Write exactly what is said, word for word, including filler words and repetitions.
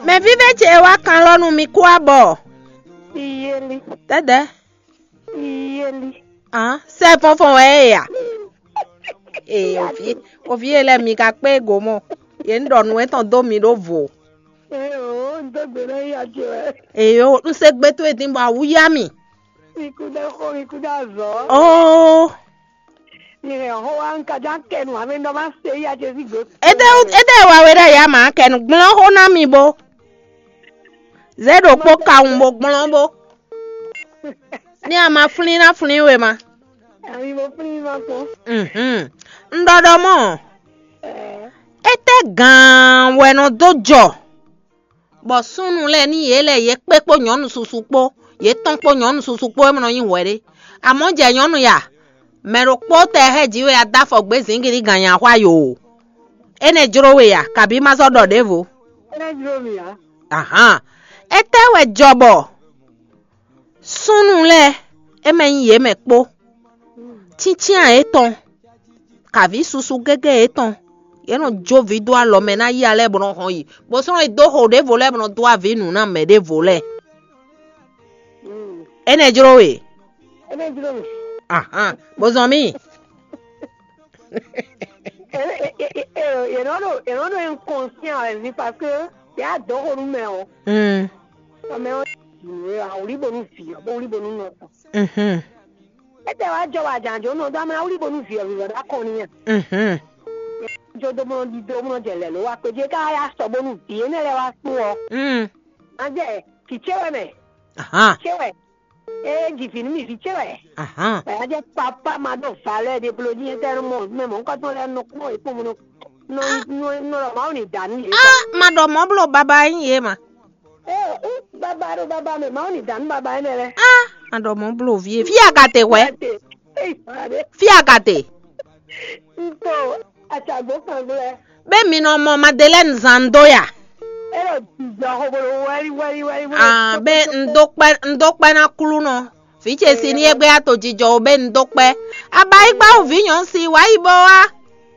Mɛ vívɛ ce wá kan lɔ nú mi kú abɔ. Iyeli, Dɛdɛ. Iyeli. Hàn, sɛ fɔnfɔn wɛ é ya. Ee, òvi, òvi e lɛ mi ka kpé go mɔ. Yě ń ɖɔ nǔ etɔn dó mi ɖó vo. Ee, o, n dó gbe ná yi adze wɛ. Ee, o, un se gbe towe din bɔ awú yá mi. Mi kú dá xó, mi kú dá zɔ. Oo. Mi hɛn xó wá, n ka já kɛ nú ame ɖɔ má se yi adze sí gbe. Ede ede wa we ɖe ya ma kɛ nú gblɔn xó ná mi bo. Zé ɖokpó kawun bo gblɔn bo. Ní a ma flín ná flín we ma. Ami mo flín ma kpɔn. Mhm. Un ɖɔ ɖɔ mɔ. Ɛɛ. Étɛ́ gǎn wɛ nɔ dó jɔ, bɔ súnnu lɛ́ɛ ní yě lɛ́ yě kpé kpó nyɔ̌nu susu kpó, yě tɔn kpó nyɔ̌nu susu kpó é nɔ nyí hwɛ̌ ɖé. Amɔ̌ jɛ nyɔ̌nu ya, mɛ ɖokpó tɛ hɛ́ jǐ we a dó afɔ gbé zǐngídi gǎn nya xwá yo. Énɛ́ jló we a, kabǐ ma sɔ́ ɖɔ ɖěvo? Énɛ́ jló mì ǎ. Ahán. Étɛ́ wɛ jɔ bɔ súnnu lɛ́ɛ é mɛ nyí yě mɛ kpó, cíncyán yětɔn, kavǐ susu gégé yětɔn, yě nɔ jó vǐ dó alɔ mɛ ná yí alɛ bɔ nɔ hɔn yi, bó sɔ́ nɔ yi dó xo ɖěvo lɛ́ɛ bɔ nɔ dó avǐ nǔ ná mɛ ɖěvo lɛ́ɛ. Énɛ́ jló we. Énɛ́ jló mì. Ahán, bó zɔn mì. Yě nɔ ɖo yě nɔ ɖo inconscient wɛ ví parce que yě á dɔn xo nú mɛ ɔ́. Mm. Mɛ ɔ́, awlí bónú vǐ ɔ́, bó wlí bónú nɔ tɔn. Mhm. Étɛ́ wá jɔ wá jǎn jó nɔ dó amlá wlí bónú vǐ ɔ́ vǐ ɔ́ ɖó akɔn n'i a? Mhm. Jó dó bónú ɖidó bónú jɛ lɛ̌ ló wá kpé jí é ká yá sɔ bónú vǐ énɛ́ lɛ́ɛ wá kpó ɔ́. Mm. Má jɛ kì cé wɛ mɛ. Ahán. Cé wɛ. Ée ji vǐ nú mì vǐ ce wɛ. Ahán. Bɔ é jɛ papa ma ɖo valeur ɖé bló jí étɛ́ nɔ mɔ mɛ mɔ̌hunkɔtɔn lɛ́ɛ nɔ kpɔ́n yě kpɔ́n nɔ nɔ nɔ nɔ ɖɔ Mawu ní da nú yě. Ah, ma ɖɔ mɔ̌ bló baba nyí yě ma. Ee, ú baba ɖo baba mɛ, Mawu ní da nú baba énɛ́ lɛ́ɛ. Ah, ma ɖɔ mɔ̌ bló vie. Fí a ka te hwɛ? Ee, fí a ka te? Ntɔ acagbó kan gblɛ. Be mi nɔ mɔ Madeleine zan dó ya? Elo jijɔ xobolo wɛli wɛli wɛli wɛli. Ah, be n dó kpɛ n dó kpɛ ná klú nɔ. Vǐ ce si ní égbé ato jijɔ o be n dó kpɛ. Abayigba o vǐ nyɔ̌nu si wǎ yi bó wá.